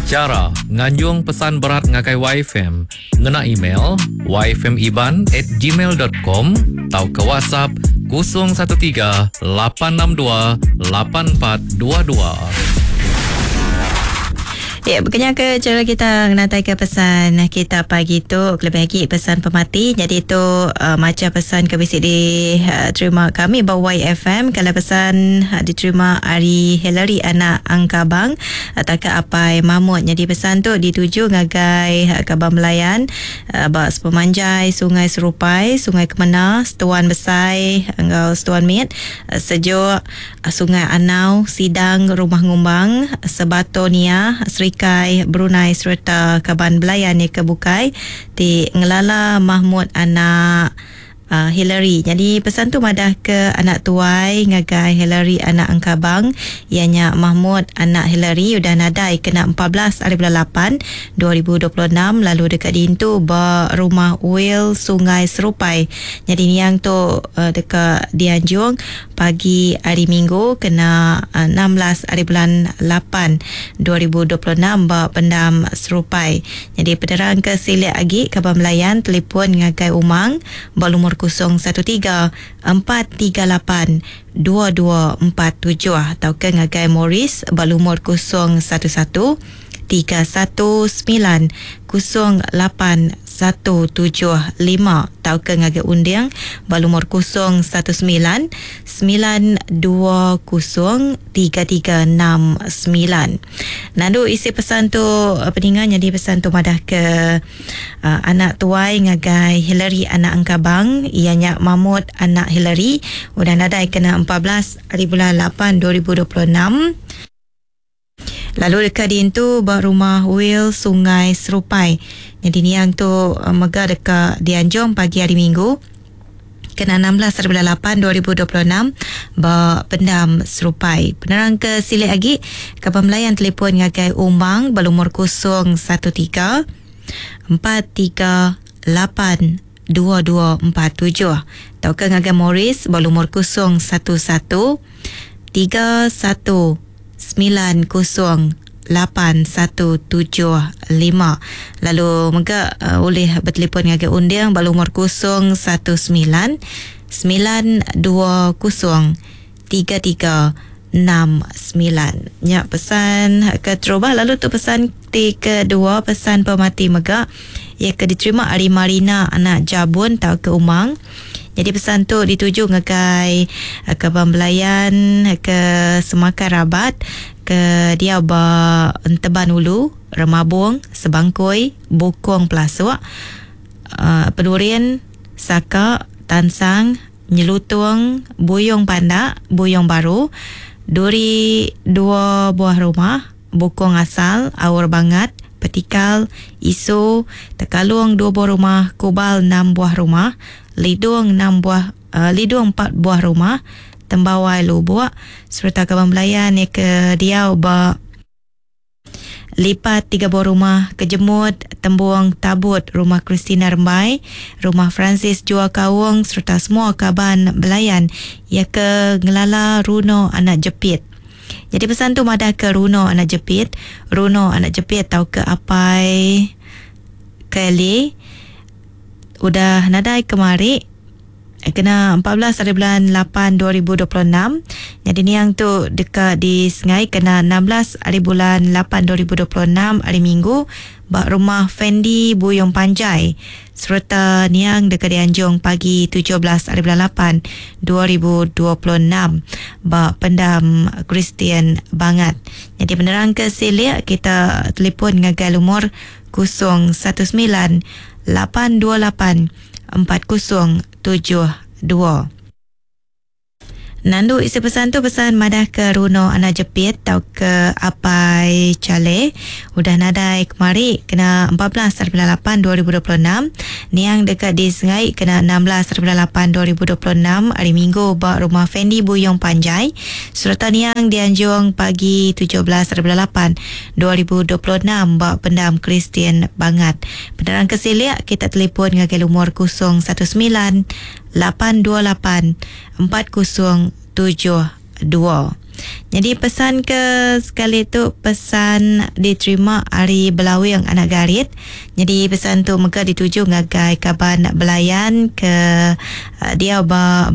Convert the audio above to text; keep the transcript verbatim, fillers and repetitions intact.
Chara nganjung pesan berat ngagai Y F M ngena email y f m iban at gmail dot com atau ke WhatsApp kosong satu tiga lapan enam dua lapan empat dua dua. Ya, berkenaan ke cara kita mengantai ke pesan kita pagi tu, lebih lagi pesan pemati. Jadi tu uh, macam pesan ke bisi diterima uh, kami bawa Y F M. Kalau pesan uh, diterima Ari Hillary anak Angkabang atau ke Apai Mahmud. Jadi pesan tu dituju ngagai uh, Kabang Melayan, uh, bak sepemanjai Sungai Serupai, Sungai Kemena, Setuan Besai, enggau Setuan Mit, uh, Sejuk, uh, Sungai Anau, Sidang, Rumah Ngumbang, Sebatonia, Seri Kai Brunei serta Kaban Belayan ni ke Bukai ti ngelala Mahmud anak uh, Hillary. Jadi pesan tu madah ke anak tuai ngagai Hillary anak Angkabang, ianya Mahmud anak Hillary udah nadai kena empat belas hari bulan lapan dua ribu dua puluh enam lalu dekat dintu ba rumah Will Sungai Serupai. Jadi niang tu uh, dekat dianjung pagi hari Minggu kena uh, enam belas hari bulan lapan dua ribu dua puluh enam ba Pendam Serupai. Jadi penerang ke silik agi Kaban Melayan telefon ngagai Umang ba lumur kosong satu tiga empat tiga lapan dua dua empat tujuh atau ke ngagai Morris ba lumur kosong satu satu tiga satu sembilan kosong lapan satu tujuh lima atau ke ngagai Unding ba lumur kosong satu sembilan sembilan dua kosong tiga tiga enam sembilan. Nandu isi pesan tu peningan, jadi pesan tu madah ke uh, anak tuai ngagai Hillary anak Angkabang, ianya Mahmud anak Hillary udah nadai kena empat belas hari bulan lapan dua ribu dua puluh enam. Lalu dekat dintu ba rumah Will Sungai Serupai. Jadi niang tu uh, mega dekat dianjung pagi hari Minggu kena enam belas hari bulan lapan dua ribu dua puluh enam ba Pendam Serupai. Penerang ke silik lagi Kaban Melayan telefon ngagai Umang berlumur kosong satu tiga empat tiga lapan dua dua empat tujuh atau ke ngagai Morris berlumur kosong satu satu tiga satu sembilan kosong lapan satu tujuh lima. Lalu mega uh, boleh bertelefon ngagai Unding berlumur kosong satu sembilan sembilan dua kosong tiga tiga enam sembilan. Nyak pesan ke terubah. Lalu tu pesan ti kedua, pesan pemati mega ia ke diterima Ari Marina anak Jabun tau ke Umang. Jadi pesan tu dituju ngagai Kaban Belayan ke Semakan Rabat ke dia ba Enteban Ulu, Remabung, Sebangkoi, Bukong Pelasuk, uh, Pedurin, Saka, Tansang, Nyelutung, Buyong Pandak, Buyong Baru, Duri dua buah rumah, Bukong Asal, Aur Bangat, Petikal, Isu, Tekalung dua buah rumah, Kubal enam buah rumah, Lidung enam buah, uh, Lidung empat buah rumah, Tembawai Lubuk serta Kaban Belayan ni ke Diau ba Lipat tiga buah rumah, Kejemut, Tembung, Tabut, Rumah Christina Rembai, Rumah Francis Jua Kaung serta semua Kaban Belayan ia ke Ngelala Runo anak Jepit. Jadi pesan tu madah ke Runo anak Jepit, Runo anak Jepit tau ke Apai Kelly udah nadai kemari kena empat belas hari bulan lapan dua ribu dua puluh enam. Jadi niang tu dekat di Sengai kena enam belas hari bulan lapan dua ribu dua puluh enam hari Minggu bak rumah Fendi Buyong Panjai serta niang dekat di Anjung pagi tujuh belas hari bulan lapan dua ribu dua puluh enam bak Pendam Kristian Bangat. Jadi penerang ke silik kita telefon ngagai lumur kosong satu sembilan lapan dua lapan empat kosong tujuh dua. Nandu isi pesan tu pesan madah ke Runo anak Jepit tau ke Apai Cale udah nadai kemari kena empat belas hari bulan lapan dua ribu dua puluh enam. Niang dekat di Sengai kena enam belas hari bulan lapan dua ribu dua puluh enam hari Minggu ba rumah Fendi Buyong Panjai serta niang dianjung pagi tujuh belas hari bulan lapan dua ribu dua puluh enam ba Pendam Kristian Bangat. Penerang kesilik kita telefon ngagai lumur kosong satu sembilan lapan dua lapan empat kosong tujuh dua. Jadi pesan ke sekali tu pesan diterima ari Belawing Anak Garit. Jadi pesan tu mega dituju ngagai kaban belayan ke uh, dia ba